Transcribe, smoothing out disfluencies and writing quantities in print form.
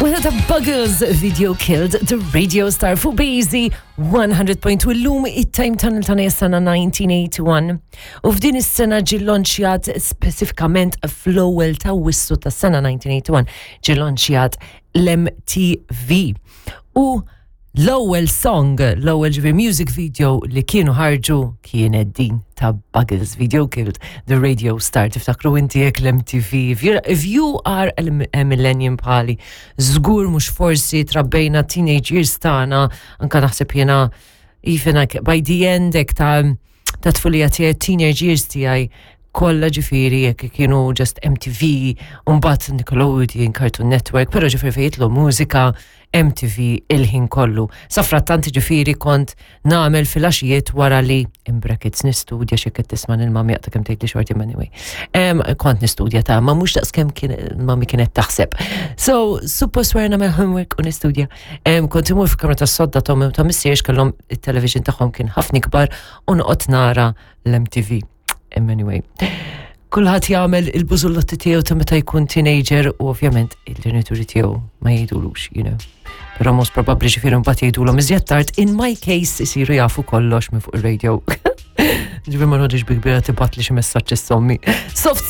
Wieħed ta' Buggles Video Killed the Radio Star fuq Bazy 100.2 illum it-time tunnel tagħna sena 1981 u f'din is-sena ġie lonċjat speċifikament fl-ewwel ta' wissu tas-sena 1981 ġie lonċjat l-MTV. U l-ewwel song, l-ewwel ġifier music video li kienu ħarġu kienet din ta' Buggles Video Killed the Radio Star. Tiftakru inti jekk l-MTV. If, if you are a millennium bħali, żgur mhux forsi trabbejna teenage years tagħna, anka naħseb jiena even like by the end hekk ta' ta' tfulija tiegħi teenage years tiegħi kollha ġifieri jekk kienu just MTV, u mbagħad Nickelodeon, Cartoon Network, però ġifieri fejn jitlu mużika MTV il-ħin kollu. Safrattant ġifieri kont nagħmel filgħaxijiet wara li in brackets nistudja xi qed tisma' lil-mami jaqta' kemm tgħid li xorti anyway. Kont nistudja ta' ma mhux daqs kemm kien mami kienet taħseb. So, suppost wara nagħmel homework u nistudja. Kont imur fil-kamra tas-sodda ta' ta' missierx kellhom it-television tagħhom kien ħafna ikbar u noqgħod nara l-MTV. Anyway, kulħadd jagħmel il-bużullotti tiegħu ta' meta jkun teenager u ovvjament il-ġenituri tiegħu ma jgħidulux, you know. Però most probably ġifieri mbagħad jgħidulhom iżjed tard, in my case isiru jafu kollox minn fuq ir-radio. Ġifieri ma noqgħodx bi kbira tibgħat li xi messaġġ is-sommi. Soft.